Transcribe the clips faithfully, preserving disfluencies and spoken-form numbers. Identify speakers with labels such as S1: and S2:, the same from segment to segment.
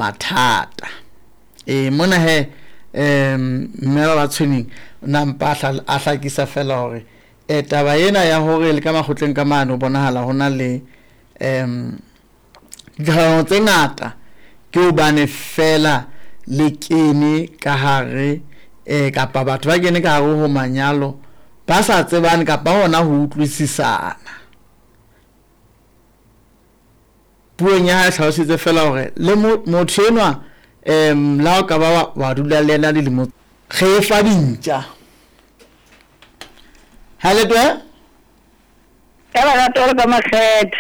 S1: Mathata. E mona he um mme ba ba tshweneng na mpa a hlakisa fela hore e taba ena ya hore le ka makgotleng ka mane ho bonahala ho na le um ditlhahlamano tse ngata ke hobane fela le kene ka hare eh kapa batho ba kene ka hare ho manyalo ba sa tsebane kapa hona ho utlwisisana. Puong ya hae hlalositse fela hore le motho enwa um la o ka ba wa dula le yena dilemo re fa dintja. Ha le twe?
S2: Ka lerato le ka makgethe.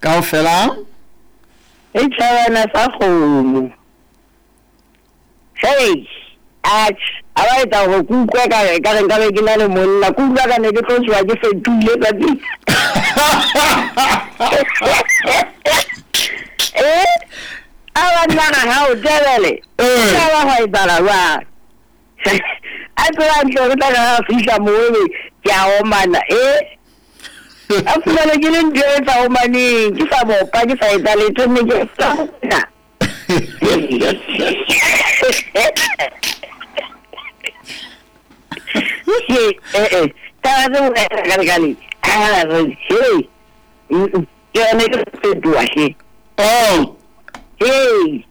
S1: Kaofela?
S2: E tjhabana sa kgomo. Hey, atjhe, a ba etsa hore ke utlwe ka re ka re nka be ke na le monna, ke utlwa ka ne ke tlo tsoha ke fetohile tsatsi. Eh? A banna ga hao tebele. Ka ba hwa etsahala jwang? A tseba hantle hore tla re ha fihla moo ebe ke a omana, eh? A fumane ke le ntho e sa omaneng, ke sa bopa, ke sa etsa letho, mme ke sa na. Eh eh, taba tse bolela ka lekale. Ah, hey. Ke yone ke fetoha hle.
S1: Oh.
S2: Hey.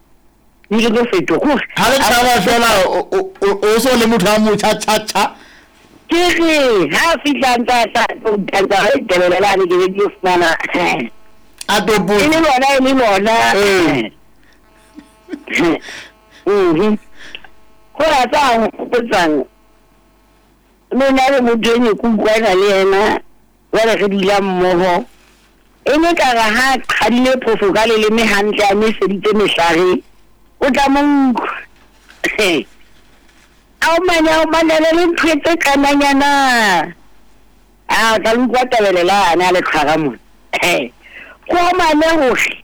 S2: Ke tlo fetoha.
S1: Ha le tshaba fela o so le motho a motjha tjha tjha.
S2: Ke re ha fihla ntsa tsa tsa re tebelelane ke be ke fumana.
S1: A topo.
S2: E le lona e le lona.
S1: Eh.
S2: Mhm. Go ra tsa go tsang. Le nna le motho e ne ke utlwana le yena jwale re dula mmoho. E ne ka re ha qhadile phofo ka leleme hantle a nweseditse mehlare, o tla mo utlwa. A o mane a o manele le ntho tse kananyana. A o tla utlwa tabelelane a le tshwara mona. Go omane hohle.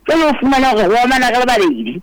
S2: Jwale o fumana hore ho omana re le babedi.